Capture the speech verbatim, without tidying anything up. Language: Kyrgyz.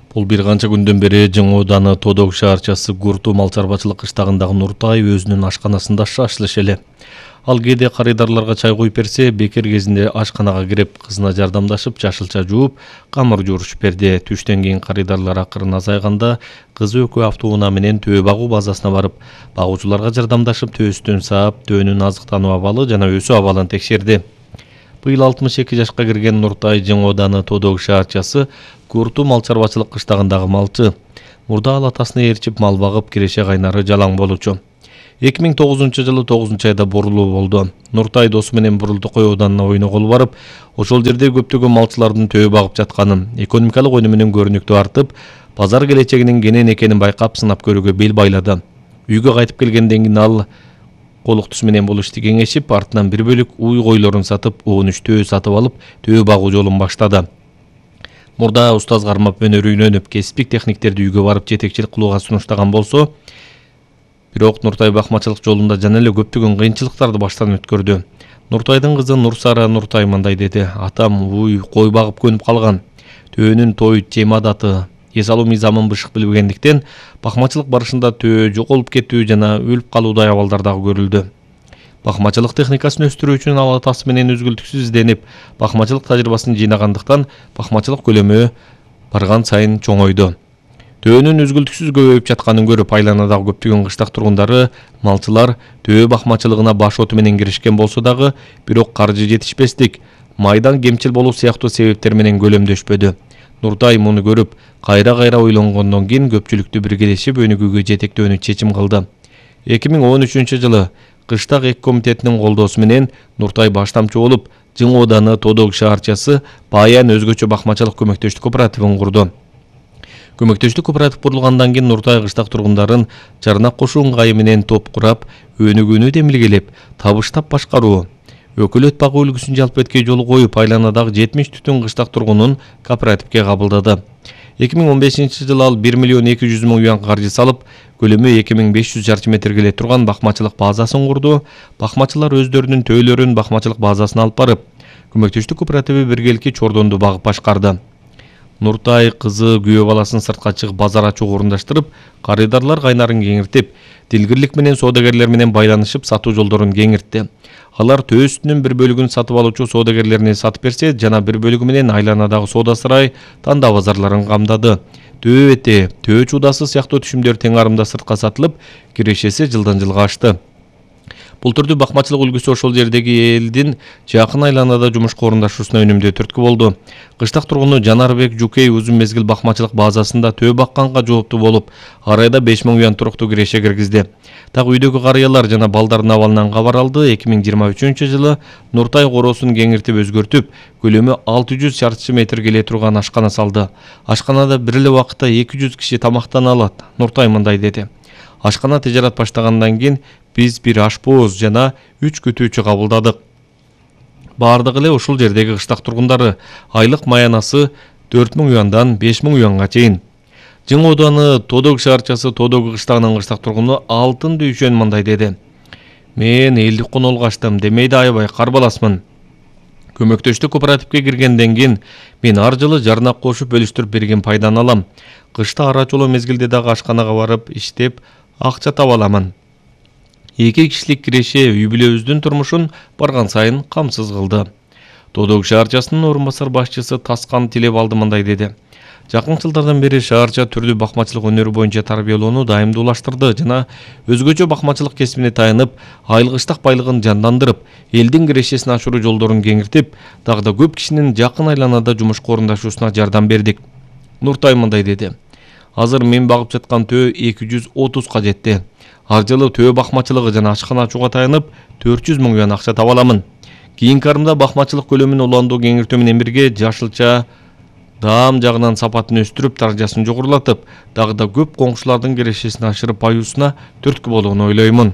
Бул бир канча күндөн бери Жың ооданы Тодог шаарчасы Гурту мал чарбачылык кыштагындагы Нуртай өзүнүн ашканасында шашлыш эле. Ал кээде карыдарларга чай коюп берсе, бекер кезинде ашканага кирип, кызына жардамдашып, жашылча жууп, камыр жуурушуп берди. Түштөн кийин карыдарлар акырын азайганда, кызы экөө автоунаа менен төө багуу базасына барып, багуучуларга жардамдашып, төөстөн саап, төөнүн азыктануу абалы жана өсүү абалын текшерди. Быйыл алтымыш эки жашка кирген Нуртай Жың ооданы Тодог шаарчасы Гурту мал чарбачылык кыштагындагы малчы. Мурда ал атасына ээрчип мал багып, киреше кайнары жалаң болчу. эки миң тогузунчу жылы тогузунчу айда бурулуу болду. Нуртай досу менен Бурултукой ооданына ойногол барып, ошол жерде көптөгөн малчылардын төө багып жатканын, экономикалык өнүмү менен көрүнүктүү артып, базар келечегинин кенен экенин байкап сынап көрүүгө бел байлады. Үйгө кайтып келгенден кийин ал колуктусу менен бул ишти кеңешип, артынан бир бөлүк уй койлорун сатып, он үч төө сатып алып, төө багуу жолун баштады. Мурда устаз кармап өнөр үйрөнүп, кесиптик техниктерди үйгө барып жетекчилик кылууга сунуштаган болсо, бирок Нуртай бакмачылык жолунда жана эле көптөгөн кыйынчылыктарды баштан өткөрдү. Нуртайдын кызы Нурсара Нуртай мындай деди: "Атам уй кой багып көнүп калган. Төөнүн той тем адаты, эс алуу мыйзамын бышык билбегендиктен бакмачылык барышында төө жоголуп кетүү жана өлүп калуудай абалдар дагы көрүлдү. Бакмачылык техникасын өстүрүү үчүн ал атасы менен үзгүлтүксүз изденип, бакмачылык тажрыйбасын жыйнагандыктан бакмачылык көлөмү барган сайын чоңойду. Төөнүн үзгүлтүксүз көбөйүп жатканын көрүп, айланадагы көптөгөн кыштак тургундары, малчылар төө бакмачылыгына баш оту менен киришкен болсо дагы, бирок каржы жетишпестик, майдан кемчил болуу сыяктуу себептер менен көлөмдөшпөдү. Нуртай муну көрүп, кайра-кайра ойлонгондон кийин көпчүлүктү биргелешип өнүгүүгө жетектөөнү чечим кылды. эки миң он үчүнчү жылы Кыштак эки комитетинин колдоосу менен Нуртай баштамчы болуп, Жың ооданы Тодог шаарчасы Баян өзгөчө бакмачылык көмөктөштүк кооперативин курду. Көмөктөштүк кооператив курулгандан кийин Нуртай кыштак тургундарын жарнак кошуу ыңгайы менен топ курап, өнүгүүнү демилгелеп, табыштап башкаруу, өкөлөт багуу үлгүсүн жалпы жолу коюп, айланадагы жетимиш түтүн кыштак тургунун кооперативге кабылдады. эки миң он бешинчи жылы ал бир миллион эки жүз миң юан каржы салып, көлөмү эки миң беш жүз чарчы метр келе турган бакмачылык базасын курду. Бакмачылар өздөрүнүн төөлөрүн бакмачылык базасына алып барып, көмөктөштүк кооперативи биргеликки чордонду багып башкарды. Нуртай кызы күйөө баласын сыртка чыгып базар ачууга орундаштырып, карыдарлар кайнарын кеңиртип, дилгирлик менен соодагерлер менен байланышып сатуу жолдорун кеңиртти. Алар төөсүнүн бир бөлүгүн сатып алуучу соодагерлерине сатып берсе, жана бир бөлүгү менен айланадагы соода сарай, танда базарларын камдады. Төө эти, төө чуудасы сыяктуу түшүмдөр тең арымда сыртка сатылып, кирешеси жылдан жылга ашты. Бул түрдүү бакмачылык үлгүсү ошол жердеги элдин жакын айланада жумушка орундашуусуна өнүмдүү түрткү болду. Кыштак тургуну Жанарбек Жукей узун мезгил бакмачылык базасында төө бакканга жооптуу болуп, ар айда беш миң юан туруктуу киреше киргизди. Так үйдөгү карыялар жана балдардын абалынан кабар алды. эки миң жыйырма үчүнчү жылы Нуртай короосун кеңиртип өзгөртүп, көлөмү алты жүз чарчы метр келе турган ашкана салды. Ашканада бир эле убакытта эки жүз киши тамактана алат. Нуртай мындай деди: "Ашкана тижарат баштагандан кийин биз бир ашпоз жана үч күтүүчү кабылдадык. Баардыгы эле ушул жердеги кыштак тургундары. Айлык маянасы төрт миң юандан беш миң юанга чейин." Жың ооданы Тодог шаарчасы Тодог кыштагынын кыштак тургуну Алтын Дүйшөн мындай деди: "Мен элдик конолго аштым, демейде аябай карбаласмын. Көмөктөштүк кооперативге киргенден кийин мен ар жылы жарнак кошуп бөлүштүрүп берген пайданы алам. Кышта ара чоло мезгилде дагы ашканага барып иштеп, акча таба аламын. Эки кишилик киреше үй бүлөбүздүн турмушун барган сайын камсыз кылды." Тодог шаарчасынын орун басар башчысы Таскан Тилебалды мындай деди: "Жакын жылдардан бери шаарча түрдүү бакмачылык өнөрү боюнча тарбиялоону дайымдуулаштырды жана өзгөчө бакмачылык кесибине таянып, айыл кыштак байлыгын жандандырып, элдин кирешесин ашыруу жолдорун кеңиртип, дагы да көп кишинин жакын айланада жумушка орундашуусуна жардам бердик." Нуртай мындай деди: "Азыр мен багып жаткан төө эки жүз отузга жетти. Ар жылы төө бакмачылыгы жана ашкана ачууга таянып, төрт жүз миң юан акча таба аламын. Кийинки арымда бакмачылык көлөмүн уландуу кеңиртүү менен бирге жашылча даам жагынан сапатын өстүрүп, даражасын жогорулатып, дагы да көп коңшулардын кирешесин ашырып аюусуна түрткү болууну ойлоймун."